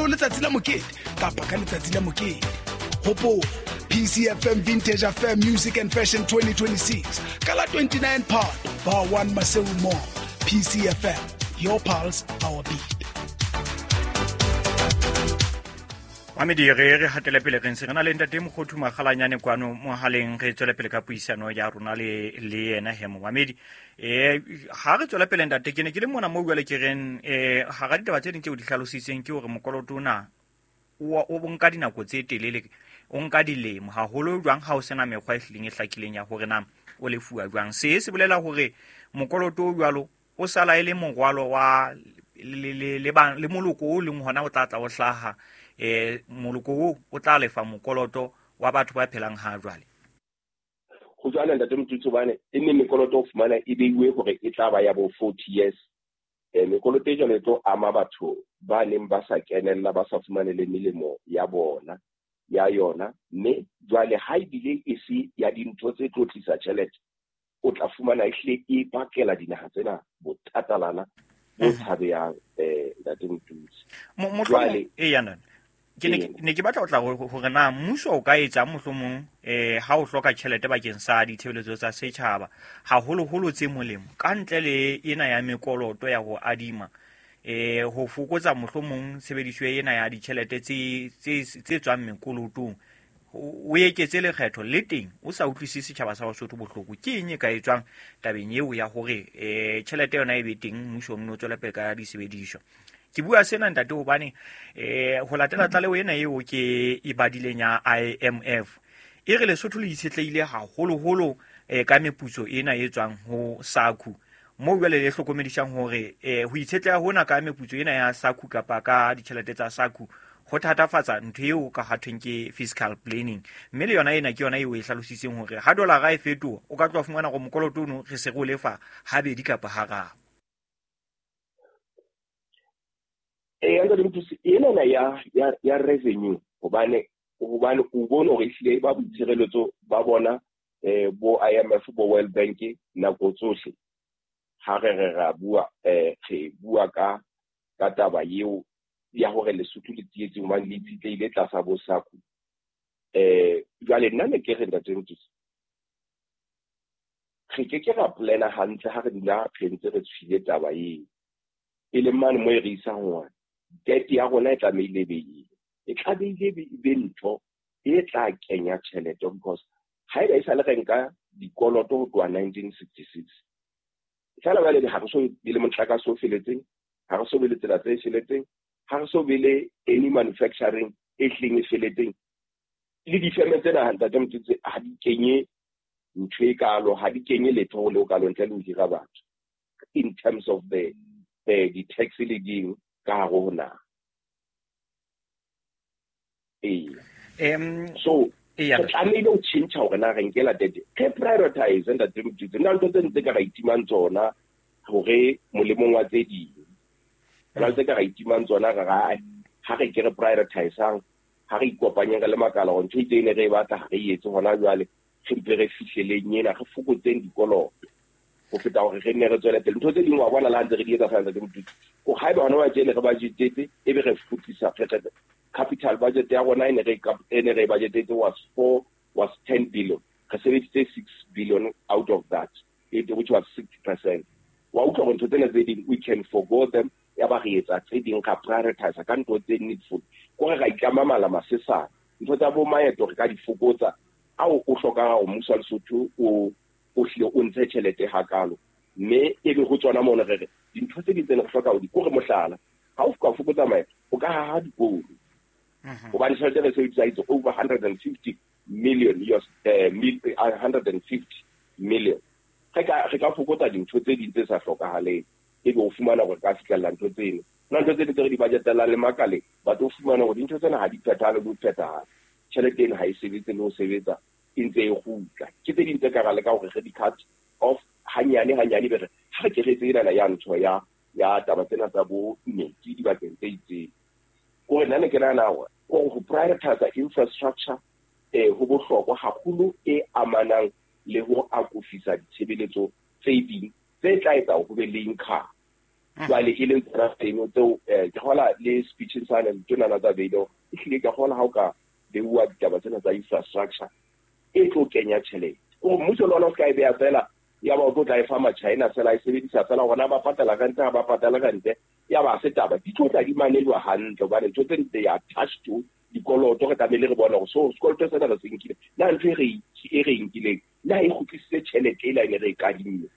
ho letsatsi la mokete kapa ka letsatsi la mokete. Hopola, PCFM Vintage Affair Music and Fashion 2026 ka la 29 Phato, Bar 1 Maseru Mall. PCFM, your pulse, our beat. Mamedi, re hatele pele, re ntse re na le ntate Mokgothu Makgalanyane kwano mohaleng. Re tswele pele ka puisano ya rona le yena. He momamedi, ha re tswele pele, ntate, ke ne ke le mona moo jwale ke reng, hara ditaba tse ding tseo di hlalositseng ke hore mokoloto ona o nka dinako tse telele, o nka dilemo haholo jwang ha o sena mekgwa e hlileng e hlakileng ya hore na o lefuwa jwang. Se bolela hore mokoloto o jwalo o sala e le morwalo wa le moloko o leng hona o tla tla o hlaha, moloko o o tla lefa mokoloto wa batho ba phelang ha jwale. Go jwale, ntate Motutsi, hobane e ne mekoloto o fumana e beiwe hore e tla ba ya bo 40 years. Mekoloto e jwalo e tlo ama batho ba neng ba sa kenella, ba sa fumane le melemo ya bona ya yona. Mme jwale ha ebile e se ya dintho tse tlo tlisa tjhelete, o tla fumana ehlile e bakela dinaha tsena bothatalana bo tshabehang, ntate Motutsi. Jwale e yana ke ne ke batla ho tla hore na mmuso o ka etsang mohlomong, ha o hloka tjhelete bakeng sa ditshebeletso tsa setjhaba, haholoholo tse molemo, ka ntle le ena ya mekoloto ya ho adima, ho fokotsa mohlomong tshebediso ena ya ditjhelete tse tswang mekolotong, o eketse lekgetho le teng, o sa utlwisise setjhaba sa Basotho bohloko. Ke eng e ka etswang tabeng eo ya hore tjhelete yona e be teng, mmuso o nne o tswele pele ka disebediswa? Ke bua sena, ntate, hobane ho latela tlaleho ena eo ke e badileng ya IMF, e re Lesotho le itshetlehile haholoholo ka meputso ena e tswang ho SACU, moo jwale le hlokomedisang hore ho itshetleha hona ka meputso ena ya SACU kapa ka ditjhelete tsa SACU ho thatafatsa ntho eo ka hathweng ke fiscal planning. Mme le yona ena ke yona eo e hlalositseng hore ha dolara e fetoha, o ka tloha fumana hore mokoloto ono re se re o lefa habedi kapa hararo. Ee, ntate Mothusi, enana ya revenue, hobane o bone hore ehlile ba boitshireletso ba bona, bo IMF, bo World Bank, nako tsohle ha re ra bua, re bua ka taba eo ya hore Lesotho le tsietseng hobane le itshitlehile tlasa bo SACU. Jwale nna ne ke re, ntate Mothusi, re ke ke ra plana hantle ha re dula re ntse re tshwile taba eo e leng mane mo e re isang hore debt ya rona e tlamehile e be eng, e tlamehile e be ntho e tla kenya tjhelete, because haeba e sa le re nka dikoloto ho tloha 1966, fela jwale ha re so be le motlakase o feletseng, ha re so be le tsela tse feletseng, ha re so be le any manufacturing e hleng e feletseng. Le difeme tsena, ntate Motutsi, ha di kenye ntho e kalo, ha di kenye letho ho le o kalo ntle le ho hira batho in terms of the di-tax le ding ka hare ho naha. Ee, so re tlamehile ho tjhentjha hore na re nkela debt, re prioritize, ntate Motutsi. Nna ntho tse ntse ka ra itimang tsona hore molemong wa tse ding, na tse ka ra itimang tsona, re ra ha re ke re prioritizang, ha re ikopanyeng re le makala hore ntho e itseng ne re e batla, ha re etse hona jwale, re mpe re fihleleng ena, re fokotseng dikoloto ho feta hore re nne re tswele pele ntho tse ding. Wa bona, le ha ntse re di etsa fela, ntate Motutsi, ko haeba hona wa tjene re budgetetse, ebe re fokotsisa capital budget ya rona e ne re budgetetse was 10 billion, re sebedisitse 6 billion out of that, which was 60%. Wa utlwa hore ntho tsena tse ding we can forgo them, ya ba re etsa tse ding, ra prioritize ka ntho tse needful, kore ra itlama mala masesane. Ntho tsa bo maeto re ka di fokotsa ao o hlokang hore mmuso wa Lesotho o hlile o ntshe tjhelete hakalo, mme ebe ho tsona mono re re dintho tse ding tse ne re hloka ho di kore, mohlala, ha o ka fokotsa maeto, o ka haha dikolo, hobane tjhelete re sebedisa itse over 150 million US, 150 million. Re ka fokotsa dintho tse ding tse sa hlokahaleng, ebe o fumana hore ka fihlella ntho tseno. Na ntho tse ding tse re di budgetelang le makaleng, but o fumana hore dintho tsena ha di phethahale le ho phethahala, tjhelete eno ha e sebetse le ho sebetsa, e ntse e kgutla. Ke tse ding tse ka ra leka hore re di cut off hanyane hanyane, be re ha re ke re etse enana ya ntho ya taba tsena tsa bo metsi dibakeng tse itseng. Kore nna ne ke nahana hore kore ho prioritize infrastructure ho bohlokwa haholo, e amanang le ho akofisa ditshebeletso tse ding tse tla etsa ho be le income. Jwale e leng tsona tseno tseo ke kgola le speech sane tsona tsa beile ehlile ke kgola ha o ka beuwa ditaba tsena tsa infrastructure e tlo kenya tjhelete. O mmuso le ona o ska e beha fela ya ba o tlo tla e fa ma-China fela e sebedisa fela hona ba patala rente ha ba patala rente ya ba se taba di tlo tla di manejwa hantle hobane ntho tse they are attached to dikoloto re tlamehile re bone hore so sekoloto sena re se nkile na ntho e re nkileng na e kgutlisitse tjhelete ela e ne re e kadimme.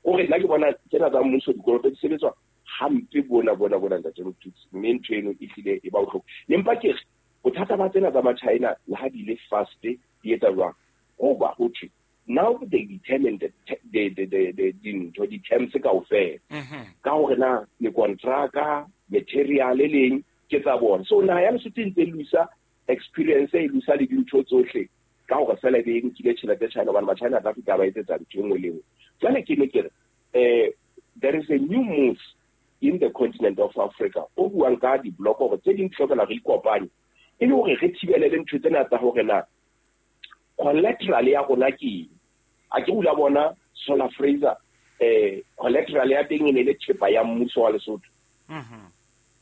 Hore nna ke bona tsena tsa mmuso dikoloto di sebetswa hampe bona ntate Motutsi, mme ntho eno e hlile e ba bohloko. Ne mpa ke re bothata ba tsena tsa ma-China le ha di le fast di etsa jwang ho ba ho thwe now they determine the dintho di-terms kaofela ka hore na mekontraka material e leng ke tsa bona. So naha ya Lesotho e ntse e lusa experience e lusa le dintho tsohle ka hore fela e be e nkile tjhelete China hobane ma-China tla fihla ba etsetsa ntho e nngwe le nngwe. Jwale ke ne ke re there is a new move in the continent of Africa o buang ka di-block hore tse ding hlokela re ikopanye e le hore re thibele le ntho tsena tsa hore na collateral ya rona ke eng. A ke ula bona Solar Fraser collateral ya teng e ne le thepa ya mmuso wa Lesotho.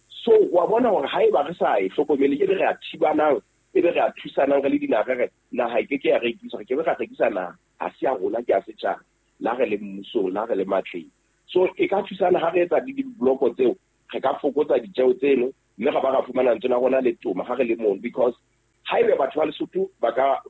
So wa bona hore haeba re sa e hlokomele e be re a thibanang e be re a thusanang re le dinaha re naha e ke ke ya rekiswa re ke be ra rekisa naha ha se ya rona ke ya setjhaba la re le mmusong la re le matleng. So e ka thusana ha re etsa di-bloko tseo re ka fokotsa ditjeo tseno mme ra ba ra fumana ntho ya rona le toma ha re le mono because haebe batho ba Lesotho ba ka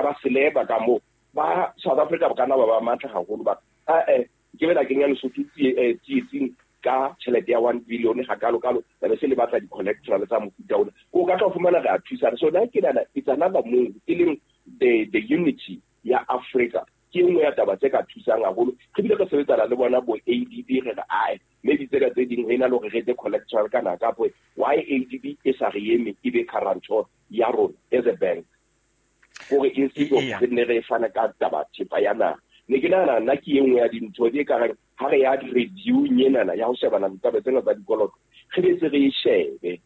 ba seleba ka mo ba South Africa ba kana ba ba matla haholo ba ke bela kenya Lesotho tsietsing ka tjhelete ya 1 billion ha kalo kalo ba be se le batla di-collateral tsa mofuta ona ko ka tla fumana re a thusana. So nna ke nahana it's another move e leng the unity ya Africa ke nngwe ya taba tse ka thusang haholo. Re bile re sebetsana le bona bo ADB re re ae maybe tsena tse ding ho ena le hore re etse collateral kana kapo why ADB e sa re eme e be guarantor ya rona as a bank hore instead of re ne re fana ka taba thepa ya naha. Ne ke nahana nna ke e nngwe ya dintho tse ka reng ha re ya review enana ya ho shebana ditaba tsena tsa dikoloto re be se re e shebe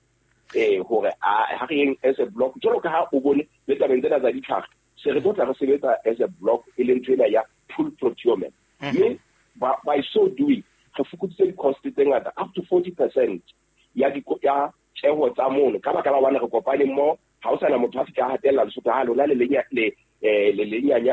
hore ha re yeng as a block jwalo ka ha o bone le tabeng tsena tsa ditlhare se re tlo tla re sebetsa as a block e leng ntho ena ya pool procurement. Mme by so doing re fokoditse di-cost tse ngata up to 40% ya tjeho tsa mono ka baka la hobane re kopane mmoho ha o sana motho a fihla a hatella Lesotho ha lona le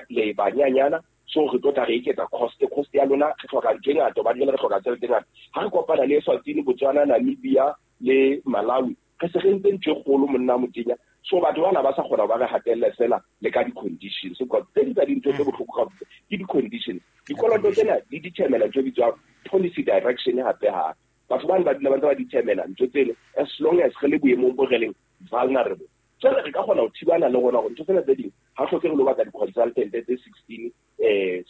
le banyanyana so re tlo tla re eketsa cost ya lona re hloka ntho e ngata hobane jwale re hloka tjhelete e ngata. Ha re kopana le Eswatini, Botswana, Namibia le Malawi re se re ntse ntho e kgolo monna motenya. So batho bana ba sa kgona ba re hatelle fela le ka di-conditions because tse ding tsa dintho tse bohloko ka ke di-conditions. Dikoloto tsena di determina ntho e bitswang policy direction hape hape. Batho bana ba dula ba ntse ba determina ntho tseno as long as re le boemong bo re leng vulnerable. Jwale re ka kgona ho thibana le rona hore ntho tsena tse ding ha hloke re lo batla di-consultant tse 16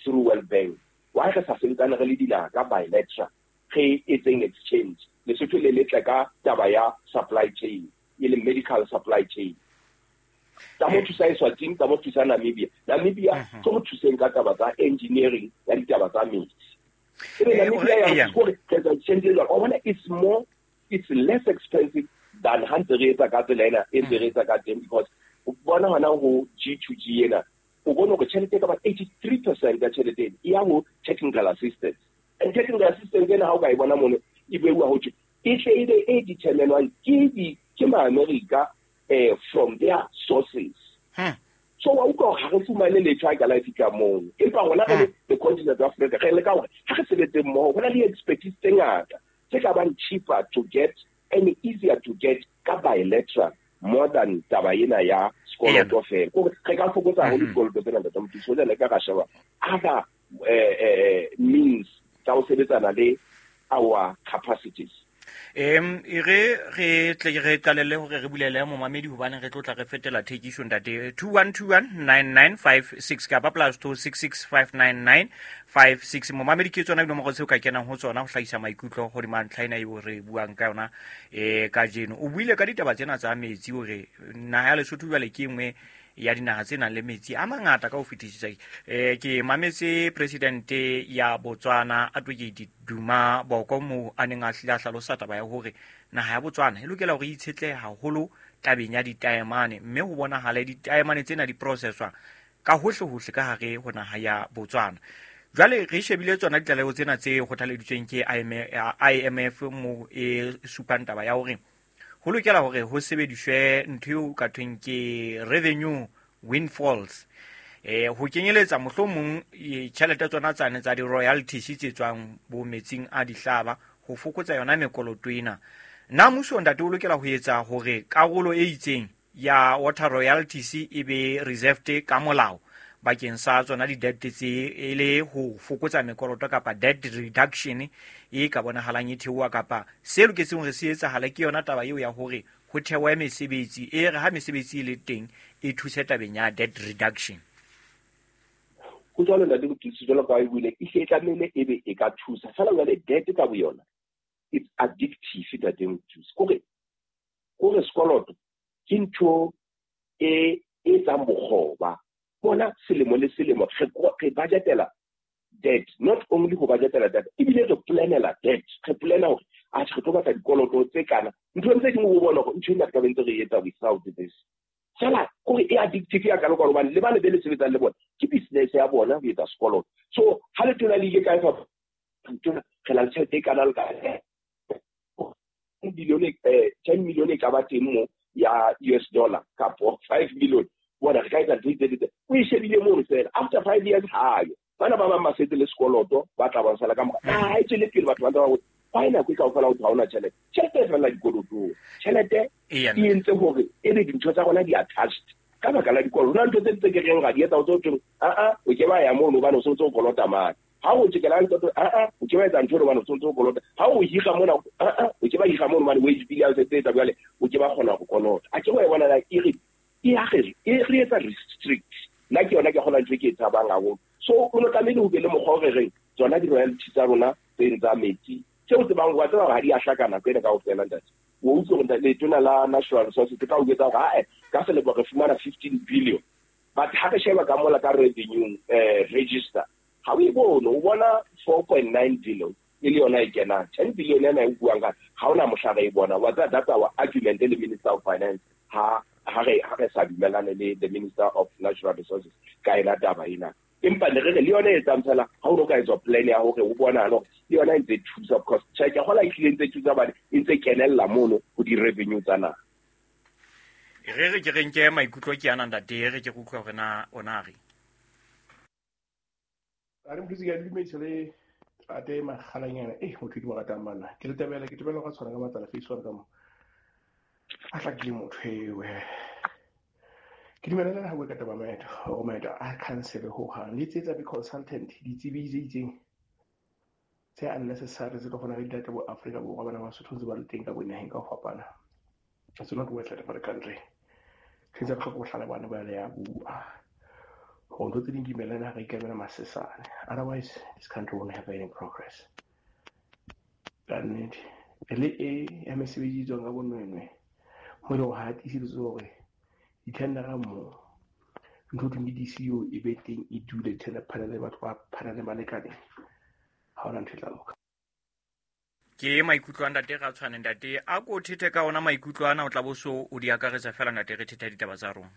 through World Bank. Why re sa sebetsane re le dinaha ka bilateral re etseng exchange Lesotho le letle ka taba ya supply chain e leng medical supply chain. Tsa mo thusa Eswatini, tsa mo thusa Namibia. Namibia ke ho thuseng ka taba tsa engineering ya ditaba tsa metsi. Ebe Namibia ya hore re etsa exchange jwang o bona it's more it's less expensive than ha ntse re etsa ka tsela ena e ntse re etsa ka teng because o bona hona ho G2G ena o bone hore tjhelete ka ba 83% ya tjhelete e ya ho technical assistance and technical assistance ena ha o ka e bona mono e beuwa ho thwe e tle e be e determinwang ke ma-America from their sources. So wa utlwa hore ha re fumane letho ha e ka la e fihla mono empa rona re le the continent of Africa re leka hore ha re sebetse mmoho ho na le expertise tse ngata tse ka bang cheaper to get and easier to get ka bilateral more than taba ena ya sekoloto fela. Kore re ka fokotsa haholo dikoloto tsena ntate Mothusi le ka ra sheba other means tsa ho sebetsana le our capacities. E re re tle re qalelle hore re bulele momamedi hobane re tlo tla re fetela thekiso ntate 21219956 kapa +26659956 momamedi ke tsona dinomoro tseo ka kenang ho tsona ho hlahisa maikutlo hodima ntlha ena eo re buang ka yona kajeno. O buile ka ditaba tsena tsa metsi hore naha ya Lesotho jwale ke nngwe ya dinaha tse nang le metsi a mangata ka ho fetisisa. Ke mametse presidente ya Botswana Advocate Duma Boko mo a neng a hlile a hlalosa taba ya hore naha ya Botswana e lokela hore e itshetlehe haholo tabeng ya ditaemane mme ho bonahale ditaemane tsena di processwa ka hohle hohle ka hare ho naha ya Botswana. Jwale re shebile tsona ditlaleho tsena tse kgothaleditsweng ke IMF mo e supang taba ya hore ho lokela hore ho sebediswe ntho eo ka thweng ke revenue windfalls, ho kenyeletsa mohlomong tjhelete tsona tsane tsa di-royalties tse tswang bo metsing a dihlaba ho fokotsa yona mekoloto ena. Na mmuso ntate o lokela ho etsa hore karolo e itseng ya water royalties e be reserved ka molao bakeng sa tsona di-debt tse e le ho fokotsa mekoloto kapa debt reduction e ka bonahalang e theoha, kapa se loketseng hore se etsahale ke yona taba eo ya hore ho thewe mesebetsi e re ha mesebetsi e le teng e thuse tabeng ya debt reduction? Ho jwalo ntate Mothusi, jwalo ka ha e buile, e hle e tlamehile e be e ka thusa. Feela jwale debt ka boyona it's addictive ntate Mothusi. Kore sekoloto ke ntho e etsang bokgoba. Bona selemo le selemo re budgetela debt, not only ho budgetela debt, ebile re planela debt. Re plana hore atjhe re tlo batla dikoloto tse kana. Ntho tse dingwe o bona hore ntho ena re ka be ntse re etsa without this. Fela kore e addictive ya kalo ka hobane le bane be le sebetsang le bona ke business ya bona ho etsa sekoloto. So ha letona le ile kae fa letona re na le tjhelete e kana le ka billion 10 million e ka ba teng mo ya US dollar kapo 5 million, bona re ka etsa ntho tse o e shebile mono fela after 5 years hayo bana ba bang ba setse le sekoloto ba tla ba sala ka mora ha e tswele pele batho ba ntse ba botsa why nako e kaofela ho ha ona tjhelete. Tjhelete e fella dikolotong, tjhelete e entse hore e be dintho tsa rona di attached ka baka la dikoloto. Hona ntho tse tse ke reng ra di etsa o tso thwe a o ke ba ya mono hobane o sentse o kolota mane. Ha o tjekela ntho a o ke ba etsa ntho hobane o sentse o kolota. Ha o hira mona a o ke ba hira mono hobane wage bill ya setse etsa jwale o ke ba kgona ho kolota. A ke wa e bona la e re e ya re e re etsa restrict. Nna ke yona ke kgona ntho e ke e tshabang haholo. So o no tlamehile ho be le mokgwa o re reng tsona di-royalty tsa rona tse tsa metsi tseo tsebang wa tseba ha di a hlakana nako ena kaofela ntate. O utlwe hore letona la Natural Resources ka o etsa hore ka selemo re fumana 15 billion, but ha re sheba ka mola ka revenue register ha o e bone, o bona 4.9 billion e le yona e kenang. 10 billion ena e buang ka ha ona mohla re e bona. Wa tseba that's our argument le Minister of Finance ha re sa dumellane le the Minister of Natural Resources ka ena taba ena. Empa ne re re le yona e etsang fela ha o no ka etswa plan ya hore o bona hore le yona e ntse thusa, because tjhe ke kgola e hlile ntse thusa hobane e ntse kenella mono ho di-revenue tsa naha. Re re ke re nke maikutlo ke ana ntate, re ke re utlwa hore na ona re. A re mothusi ke a dumedisa le ate makgalanyana motho ke mo ratang banna. Ke le tebela ke tebela ka tshwana ka matsala face one ka mo. A hlakile motho ewe. Ke dumela ha bua ka taba maeto, hore maeto a cancel ho hang. Le tsetsa be consultant ditsebi tse itseng tse unnecessary tse tlo kgona re dilate bo Afrika Borwa bana ba Sotho ntse ba le teng ka bonaheng ka ho fapana. It's not worth it for the country. Ke tsa tlhoka bohlale bana ba le ya bua. Hore ntho tse ding di melana re ikemela masesane. Otherwise this country won't have any progress. Ka nnete le e ya mesebetsi e tswang ka bonwenwe mo e leng hore ha tiiseditswe hore di-tendera mo ntho thweng ke DCO e be teng e dule tender panel batho ba panel ba lekaneng, ha hona ntho e tla loka. Ke maikutlo a ntate ra tshwane ntate, a ko thethe ka ona maikutlo ana o tla bo so o di akaretsa fela ntate re thetha ditaba tsa rona.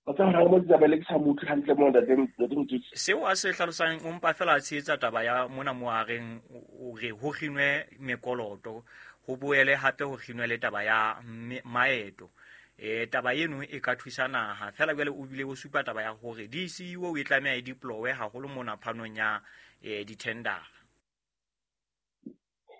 O tla hore mo tsamaile ke sa mo utlwe hantle mo ntate Mothusi. Seo a se hlalosang o mpa fela a tshehetsa taba ya mona mo a reng o re ho kginwe mekoloto, ho boele hape ho kginwe le taba ya maeto. Taba eno e ka thusa naha fela jwale o bile o supa taba ya hore DCO e tlameha e deploy haholo mona phanong ya di-tender.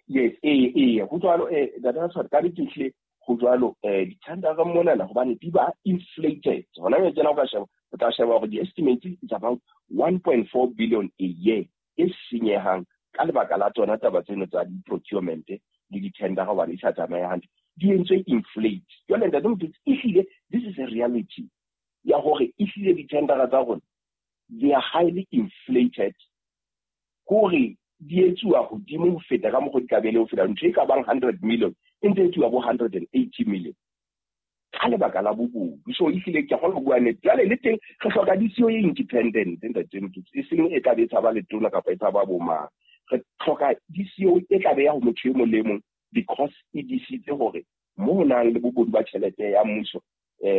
Yes, ho jwalo data tsa ka di ho jwalo di-tender mona hobane di ba inflated. Hona jwale tsena o ka sheba, o tla sheba hore di-estimate is about 1.4 billion a year e senyehang ka lebaka la tsona taba tseno tsa di-procurement le di-tender hobane di sa tsamaye hantle. Di entswe inflate. Jwale ntate Mothusi, ehlile this is a reality ya hore ehlile di-tendera tsa rona they are highly inflated, hore di etsuwa hodimo ho feta ka mokgwa di ka be le ho feta. Ntho e ka bang 100 million e ntse etsuwa bo 180 million ka lebaka la bobodu. So ehlile ke kgona ho bua nnete. Jwale le teng re hloka DCO e independent ntate Mothusi, e seng e tla be e tshaba letona kapa e tshaba bomang. Re hloka DCO e tla be ya ho motho e mong le mong, because e disitse hore mo ho nang le bobodu ba tjhelete ya mmuso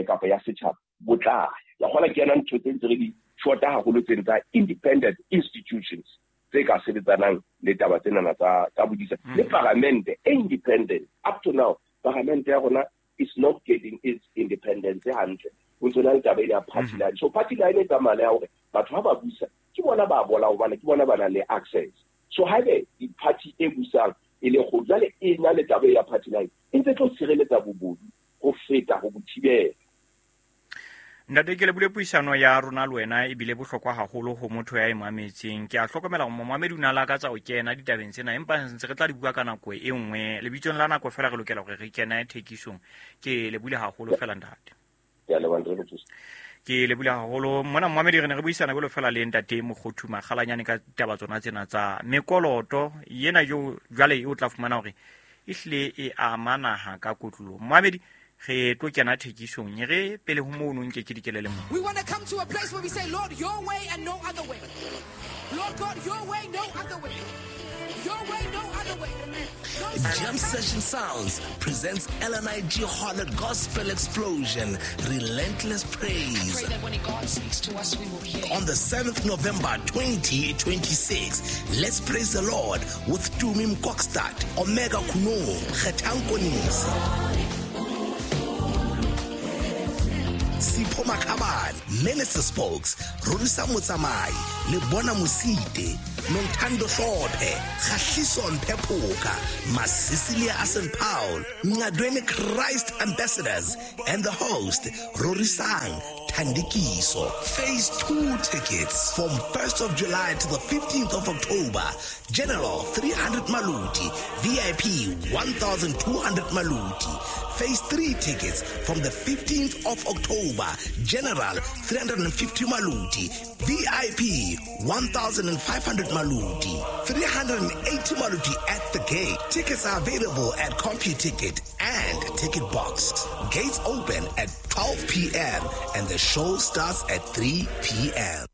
kapa ya setjhaba bo tla ya. Kgola ke yona ntho tse ntse re di shota haholo tsena tsa independent institutions tse ka sebetsanang le taba tsenana tsa bodisa. Le paramente e independent, up to now paramente ya rona is not getting its independence hantle. Ho ntso na le taba ya party line. So party line e tsamaya ya hore batho ha ba busa ke bona ba bola, hobane ke bona ba nang le access. So haebe di-party e busang e le kgolo, jwale e na le taba ya party line, e ntse tlo tshireletsa bobodu ho feta ho bo thibela. Ntate, ke lebule puisano ya rona le wena, ebile bohlokwa haholo ho motho ya e mametseng. Ke a hlokomela hore momamedi o ne a lakatsa ho kena ditabeng tsena, empa ntse re tla di bua ka nako e nngwe. Lebitsong la nako fela re lokela hore re kene thekisong. Ke lebule haholo fela, ntate. Ke a leboha, Ntate Mothusi. Ke lebule haholo. Mona momamedi re ne re buisana jwalo fela le ntate Mokhothu Makgalanyane ka taba tsona tsena tsa mekoloto yena jo jwale o tla fumana hore ehlile e ama naha ka kotloloho. Momamedi, re tlo kena thekisong, e re pele ho mono nke ke dikele le mo. We want to come to a place where we say, Lord, your way and no other way. Lord God, your way, no other way. Your way, no other way. Jam Session Sounds presents LNIG Harlot Gospel Explosion, Relentless Praise. I pray that when God speaks to us, we will hear. On the 7th November 2026, let's praise the Lord with Tumi Mkokstad, Omega Kuno, Kgetang Konisi, Sipho Makhabane, Minister Spokes, Rorisa Motsamai, Lebona Mosite, Nontando Hlophe, Kgahliso Mpephoka, Masisilia Asen Paul, Ngadweni Christ Ambassadors, and the host, Rorisang Thandikiso. Phase 2 tickets from 1st of July to the 15th of October. General 300 Maluti, VIP 1,200 Maluti. Phase 3 tickets from the 15th of October. General 350 Maluti, VIP 1,500 Maluti, 380 Maluti at the gate. Tickets are available at CompuTicket and Ticket Box. Gates open at 12 p.m. and the show starts at 3 p.m.